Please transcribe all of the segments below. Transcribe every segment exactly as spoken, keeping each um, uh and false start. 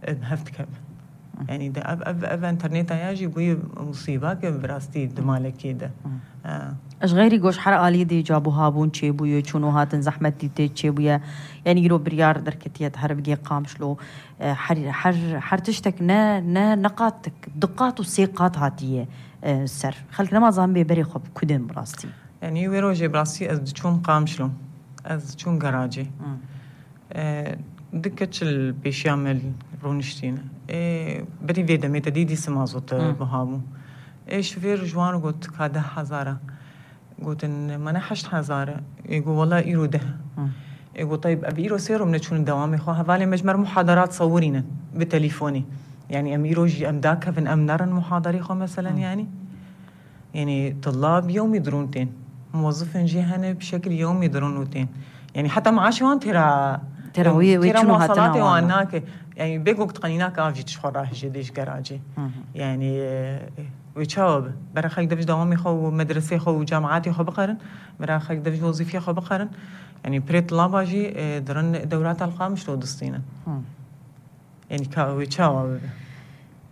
em hev dikevin. Yanî de ev, ev, ev interneta ya jî bûye musîbake bi rastî di malekê de. E, Ji xeyrî goş her alî dê cabû habûn çêbûye, çûn û hatin zehmet dîtê çêbûye. Yanî îro biryar derketiye di herbigê Qamişlo. E, her, her, her tiştek ne, ne, ne qat, du qat û sê qat hatiye, e, ser. Xelk nema zanibê berê xwe bi ku dên bi rastî. Yanî wê rojê bi rastî ez diçûm Qamişlo. Ez diçûm garajê. E, du keç li pêşiya me rûniştîne. Ê, berî vê demê te dî dîsa mazot buha bû. Ê, şofêr ji wan got, ka deh hezar e. Gotin, mane heşt hezar e. Ê, got, wela îro deh e. Ê, got, tayb, ev îro sê rom neçûn dewamê xwe. Hevalê me ji me re muhadarat sewirînin bi telîfonî. Yanî em îro jî em dakevin, em nerin muhadarê xwe meselen yanî. Yanî tulab yewmî dirûn tên. Muwezifên jî hene bi şekil yewmî dirûn û tên. Yanî heta maaşê wan têra Têra wê, wê têra çûn û hatina muwasalatê wan wan nake. Yanî bê ku diqenî nake av jî tişt xwe rahije dê ji geracê. Yanî e, wê çawa be? Bera xelk dev ji dewamê xwe û medresê xwe û cemaatê xwe bixerin. Bera xelk dev ji wezîfê xwe bixerin. Yanî pirê tulaba jî e, dirin dewrata li Qamişlo distînin. Yanî ka wê çawa bibe?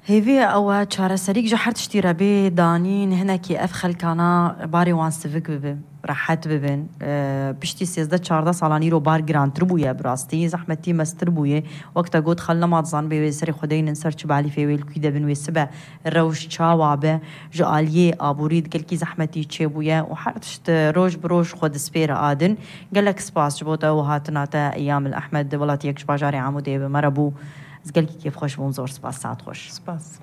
Hêvî ye ew e çareserîk ji her tiştî re bê danîn, hinekî ev xelkana barê wan sivik bibe, rehet bibin. E, piştî sêzdeh çardeh salan îro bar girantir bûye bi rastî, zehmetî mestir bûye. Wek te got xel nema dizanibê wê serê xwe deynin ser çi balîfê wê li kû de bin wê sibe rewş çawa be. Ji aliyê aborî di gelkî zehmetî çêbûye û her tişt roj bi roj xwe dispêre adin. Gelek spas ji bo te û hatina te Eyyamil Ehmed, welatiyek ji bajarê Amûdê bi me re bû. Ez gelkî kêfxweş bûm, zor spas, saet xweş. Spas.